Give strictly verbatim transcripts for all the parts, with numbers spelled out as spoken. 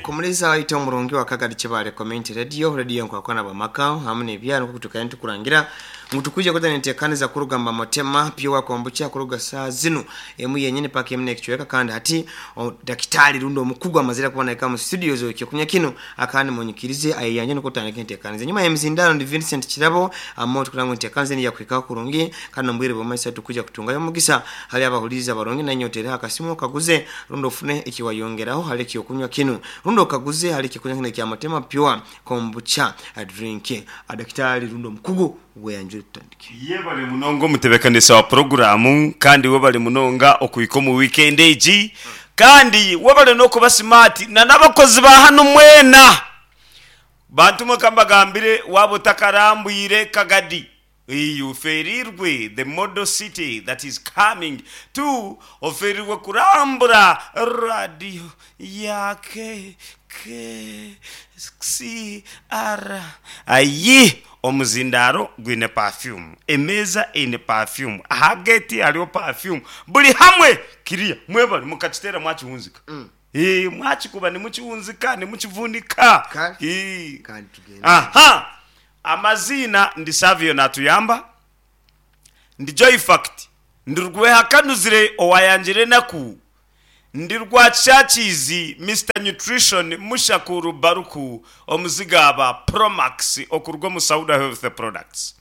Kumuriza waita omurungi wa Kagadi Kibale Community Radio, radio nkwakwana bamaka hamwe n'ebyaro kutukaya ntukurangira ngu tukuje kuta nentekaniza kurugamba Motema Pure Kombucha kuruga saa zino emu yenyine paka emu nekichweka. Kandi hati o, dakitari rundo omukugu amazira kubona mu studio zo kyokunya kino akandi munyikirize ayeyanje nokutandika entekaniza. Nyuma ya mzindano ndi Vincent Kirabo amoto kurango entekaniza ni yakwika kurungi kandi mbwire bwamaisa tukuja kutungayo mugisa hali abahuliza barungi na nyotera akasimu kaguze rundo fune ikiwayongeraho hali kyokunywa kino rundo kaguze hali kyokunywa kino kya Motema Pure Kombucha a drink. Adaktari rundo mukugu weyanjure tutandike. Ye bali munonga omutebekanisa wa programu kandi we bali munonga okuhika omu weekend egi kandi we bali n'okuba smart na n'abakozi ba hano mwena bantu mwe kambagambire waba otakarambwire Kagadi oferirwe the model city that is coming to oferirwe kurambura radio yake K C R ayi omuzindaro gwine perfume, emeza eine perfume, aha gate hariho perfume, buri hamwe kiriya mwebale mukakitera mwakihunzika. Mm. Eh, mwakikuba nimukiwunzika nimukivunika. Kale. Eh. Kandi tugende. Aha, amazina ndi Savio Natuyamba, ndi Joy Fact, ndi Rwehakanuzire owayangire naku, ndi Rwakishakizi Mister Nutrition Mushakuru Baruku omuzigaba Promax okurwa mu Sauda Health Products.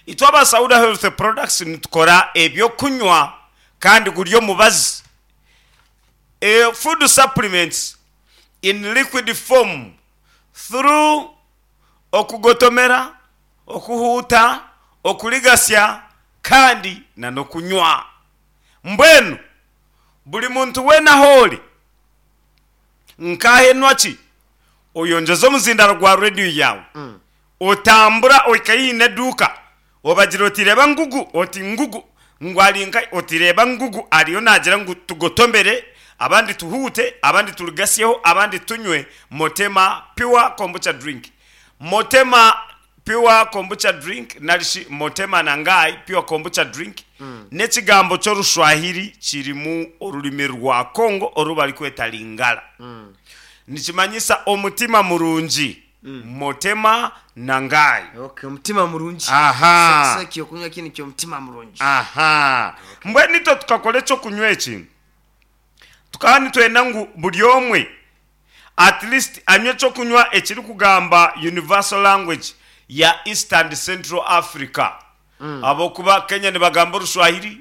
Itwe aba Sauda Health Products nitukora ebyokunywa kandi guri omubazi. E, food supplements in liquid form through okugotomera, okuhuuta, okuligasya kandi na n'okunywa. Mbwenu buri muntu weena ahoori nkahenwa ki oyongyeza omuzindaro gwa rediyo yawe Mm. otambura ohika eduuka obagira oti reba ngugu, oti ngugu ngu ari nka, oti reba ngugu ariyo nagira ngu tugotomere, abandi tuhuute, abandi tuligasyeho, abandi tunywe Motema Pure Kombucha drink. Motema Pure Kombucha drink narishi Motema Nangai Pure Kombucha drink. Mm. N'ekigambo ky'Orushwahiri kirimu orurimi rwa Kongo oru barikweta Lingala. Mm. Nikimanyisa omutima murungi. Mm. Motema Nangai. Okay, omutima murungi. Aha. Sasa kyokunywa kino kyomutima murungi. Aha. Okay. Mbwenu itwe tukakora ekyokunywa eki tukaba nitwenda ngu buri omwe at least anywe ekyokunywa ekirikugamba universal language ya East and Central Africa. Mm. Abokuba Kenya nibagamba Orushwahiri,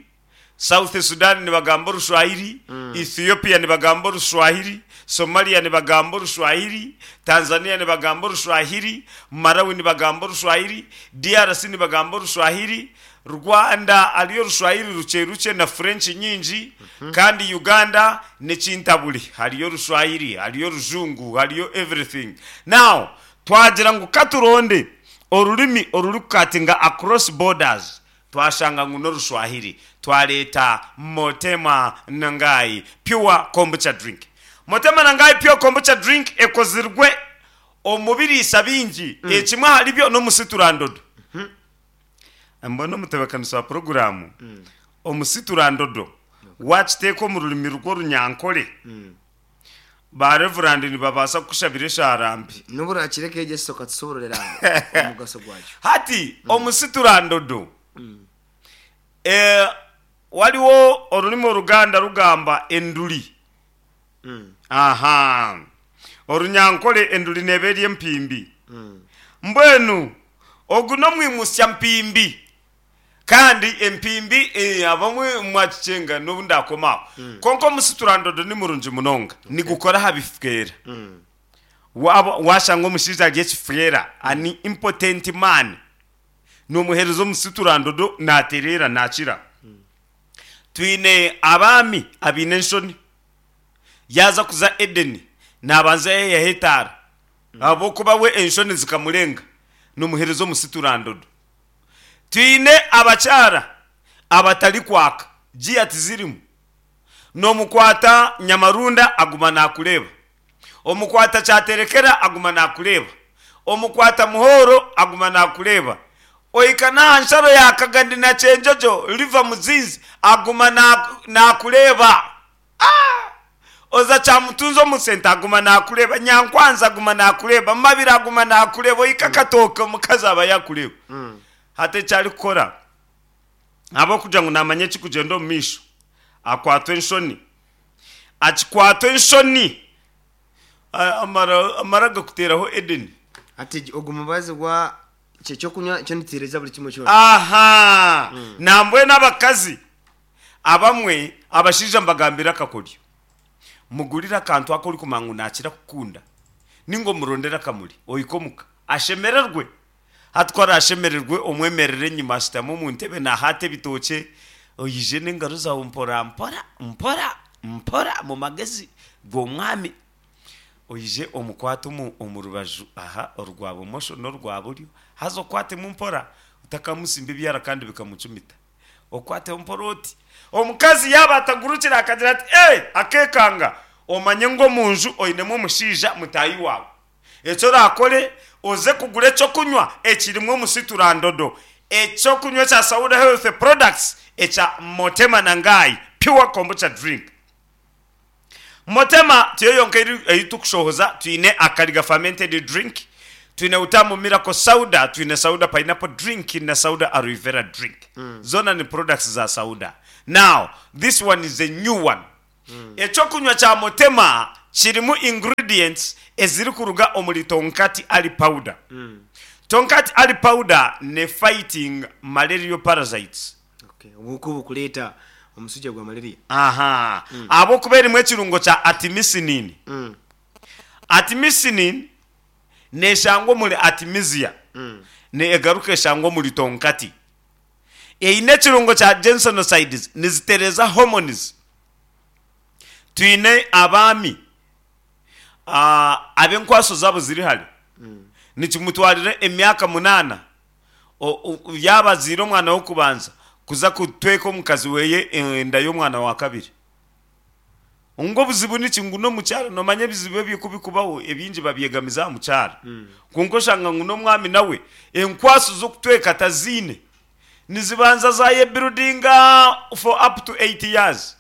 South Sudan nibagamba Orushwahiri, Mm. Ethiopia nibagamba Orushwahiri, Somalia nibagamba Orushwahiri, Tanzania nibagamba Orushwahiri, Malawi nibagamba Orushwahiri, D R C nibagamba Orushwahiri, Rwanda ariyo Orushwahiri ruche ruche na French nyingi. Mm -hmm. Kandi Uganda nekintaburi hariyo Orushwahiri, hariyo Rujungu, hariyo everything. Now twagira ngu katuronde orurimi orurikukatinga across borders, twashanga ngu n'Orushwahiri, twareta Motema Nangai Pure Kombucha drink. Motema Nangai Pure Kombucha drink ekozirwe omu biriisa bingi. Mm. Ekimwe ahari byo n'omusiturandodo. Mbona omutebekanisa wa programu Mm. omusiturandodo wakiteeka omu rurimi rw'Orunyankore, Mm. ba reverend nibabaasa kukushabira esharambi. Nuburakireka egeso katusoborera omugaso gwakyo. Hati omusiturandodo Mm. eh, waliwo orurimi Oruganda rugamba enduri. Mm. Aha, Orunyankore enduri neeba eri empimbi. Mm. Mbwenu ogu n'omwimusya mpimbi kandi empimbi eh, abamwe mwakicenga n'obu ndakomaho. Mm. Konka omusiturandodo ni murungi munonga, nigukora aha bifukera. Mm. Waba washanga omushaija ari ekifukera ani impotent man, nomuhereza omusiturandodo naterera nakira. Twine abaami abaine enshoni, yaza kuza Edeni nabanza yeyaho etaara ahabwokuba we enshoni zikamurenga, nomuhereza omusiturandodo. Twine abakyara abatari kwaka giya tizirimu, nomukwata nyamarunda aguma nakureeba, omukwata kyaterekera aguma nakureeba, omukwata muhoro aguma nakureeba, ohika n'aha nsharo ya Kagandi na Kyenjojo riva Muzinzi aguma nakureeba. Ah! Oza Kyamutunzi omu senta aguma naakureeba, Nyankwanzi aguma naakureeba, Mabira aguma naakureeba, ohika Katooke omukazi aba yaakureeba. Hati eki arikukora ahabw'okugira ngu naamanya ekirikugyenda omu maisho, akwatwa enshoni. Akikwatwa enshoni amara amara agakuteeraho Edeni. Hati ogu mubazi gwa ky'ekyokunywa kyo nituteereza buri kimwe kyona. Aha! Nambwenu abakazi abamwe abashaija mbagambire akakoryo. Mugurire akantu aku orikumanya ngu naakira kukunda ninga omurondere akamuri ohike omuka ashemererwe. Hati ku araashemererwe omwemerere enyima ashutame omu ntebe naahaata ebitookye, oije n'engaro zaawe mpora mpora mpora mpora omu magezi g'omwami oije omukwate omu omu rubaju aha orwa bumosho n'orwa buryo haza okwatemu mpora otakamusimba ebyara kandi bikamucumita. Okwateho mpora oti. Omukazi yaaba atagurukire akagira ati, Ee! Akeekanga, omanye ngu omu nju oinemu omushaija mutaahi waawe. Eki oraakore, oze kugura eky'okunywa ekirimu omusiturandodo, eky'okunywa ekya Sauda Health Products ekya Motema Nangai Pure Kombucha Drink. Motema tiyo yonka ei turikushohoza, twine Akariga Fermented Drink, twine Utamu Miracle Sauda, twine Sauda Pineapple Drink na Sauda Aloe Vera Drink. Zoona ni products za Sauda. Now, this one is a new one. Eky'okunywa kya Motema kirimu ingredients ezirikuruga omuri Tonkati Ali Powder. Tonkati Ali Powder ne fighting malarial parasites. Okay, obuhuka obukureeta omuswija gwa malaria. Aha, ahabw'okuba erimu ekirungo kya artemisinin. Artemisinin neeshangwa omuri artemisia, neegaruka eshangwa omuri tonkati. Eine ekirungo kya ginsenosides, nizitereeza hormones. Twine abaami ab'enkwaso zaabo ziri hare, nikimutwarira emyaka munaana yaaba azaire omwana w'okubanza kuza kutweka omukazi we enda y'omwana wa kabiri. Ngu obuzibu niki? Ngu n'omukyara. Noomanya ebizibu ebyo ku birikubaho ebingi babyegamiza aha mukyara. Kwonka oshanga ngu n'omwami nawe enkwaso z'okutweka taziine. Nizibanza zaayebuildinga for up to eight years.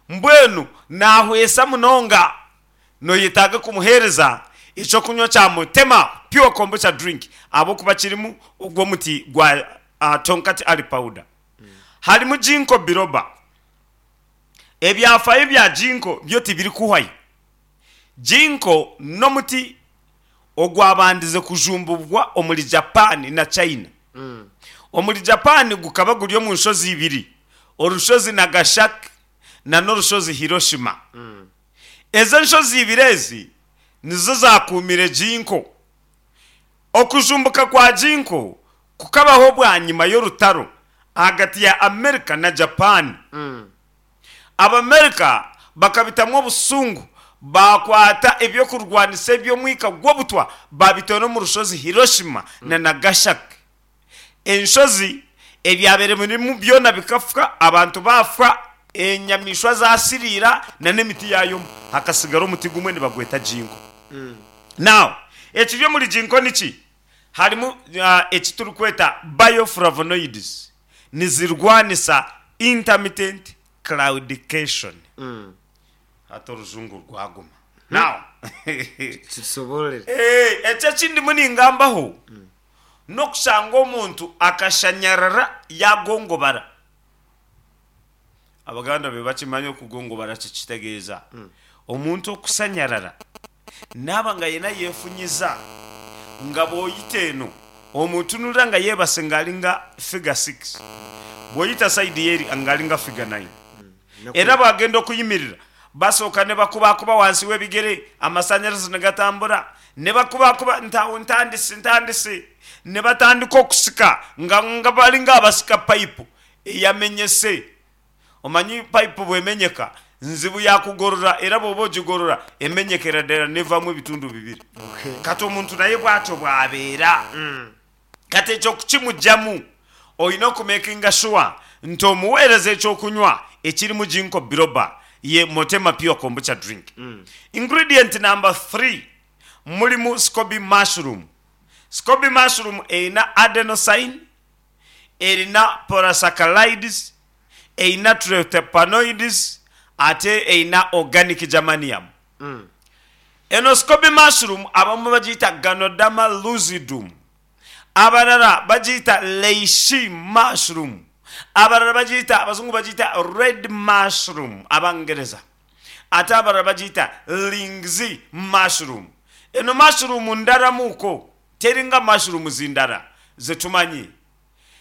Mbwenu naahwesa munonga. Noyetaaga kumuheereza eky'okunywa kya Mutema Pure Kombucha Drink ahabw'okuba kirimu ogw'omuti gwa Tonkat Ali Powder. Harimu Ginkgo Biloba. Ebyafaayo bya Ginkgo byo tibirikuhwayo. Ginkgo n'omuti ogwabandize kujumbubwa omuri Japan na China. Omuri Japan gukaba guri omu nshozi ibiri, orushozi Nagasaki na n'orushozi Hiroshima. Ezo enshozi ibiri ezi nizo zaakuumire Ginkgo. Okujumbuka kwa Ginkgo kukabaho bwanyima y'orutaro ahagati ya Amerika na Japan. Abamerika bakabitamu obusungu baakwata eby'okurwanisa eby'omwika gw'obutwa baabitoora omu rushozi Hiroshima na Nagasaki. Enshozi, ebyabaire birimu byona bikafa, abantu baafa, enyamaishwa zaasiriira na n'emiti yaayoma. Hakatsigara omuti gumwe nibagweta ginkgo. Now, ekiri omuri ginkgo niki? Harimu eki turikweta bioflavonoids, nizirwanisa intermittent claudication. Hati orujungu rwaguma. Now, Kitusoboororere. Eki eki ndimu ningambaho n'okushanga omuntu akashanyarara yaagongobara. Abaganda be bakimanya okugongobara kikitegeeza omuntu okusanyarara naaba nga ayine ayefunyiza nga bw'oyita eno omutunurira nga yebase nga ari nga figure six, bw'oyita sayidi eri nga ari nga figure nine. Era bwagenda okuyimirira basooka nibakubakuba wansi w'ebigere amasanyarazi nigatambura, nibakubakuba nti aho ntandise ntandise, nibatandika okusika nga nga bari nk'abasika payipu eyamenyese. Omanyi payipu bw'emenyeka nzibu yaakugorora era bw'oba ogigorora emenyekera ddala n'evamu ebitundu bibiri. Kati omuntu naye bwatyo bw'abeera. Kati ekyo kukimugyamu oine okumekinga shuwa nti omuweereza eky'okunywa ekirimu Ginkgo Biloba ye Motema Pure Kombucha Drink. Ingredient number three murimu Scoby Mushroom. Scoby Mushroom eine adenosine, erina polysaccharides, eine triterpenoids Ate eyina organic germanium. Eno scoby mushroom abamu bagiyita Ganoderma lucidum, abalala bagiyita reishi mushroom, abalala bagiyita, abazungu bagiyita red mushroom abangereza, ate abalala bagiyita lingzhi mushroom. Eno mushroom ndalamuko, teringa mushrooms ndala zetumanyi.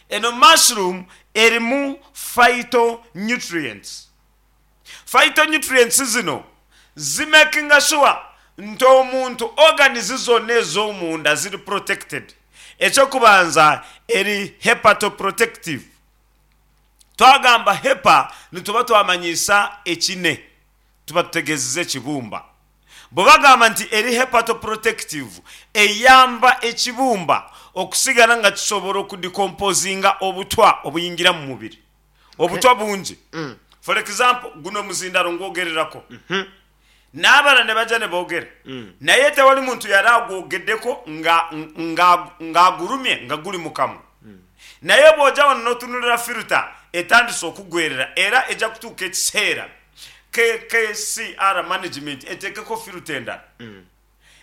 Eno mushroom erimu phytonutrients. Phytonutrients zino zimakinga sure nti omuntu organs zonna ez'omunda ziri protected. Ekyokubanza, eri hepatoprotective. Twagamba hepa, nituba twamanyisa ekine, tuba tutegeezeza ekibumba. Bwe bagamba nti eri hepatoprotective, eyamba ekibumba okusigala nga kisobola okudecomposinga obutwa obuyingira mu mubiri. Obutwa bungi. For example, guno muzindalo ngwogererako, n'abala ne bajja ne boogera, naye tewali muntu yali agwogeddeko nga- nga- ng'agulumye nga guli mu kamwa. Naye bw'ojja wano n'otunulira filter, etandise okugwerera, era ejja kutuuka ekiseera K K C R management eteekeko filter endala.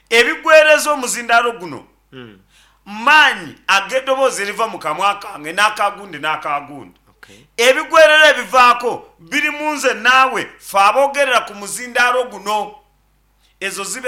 Ebigwereza omuzindaalo guno maanyi ag'eddoboozi eriva mu kamwa kange n'akagundi n'akagundi. Okay. Ebigwerera ebivaako biri mu nze naawe, fe aboogerera ku muzindaalo guno. Ezo zibe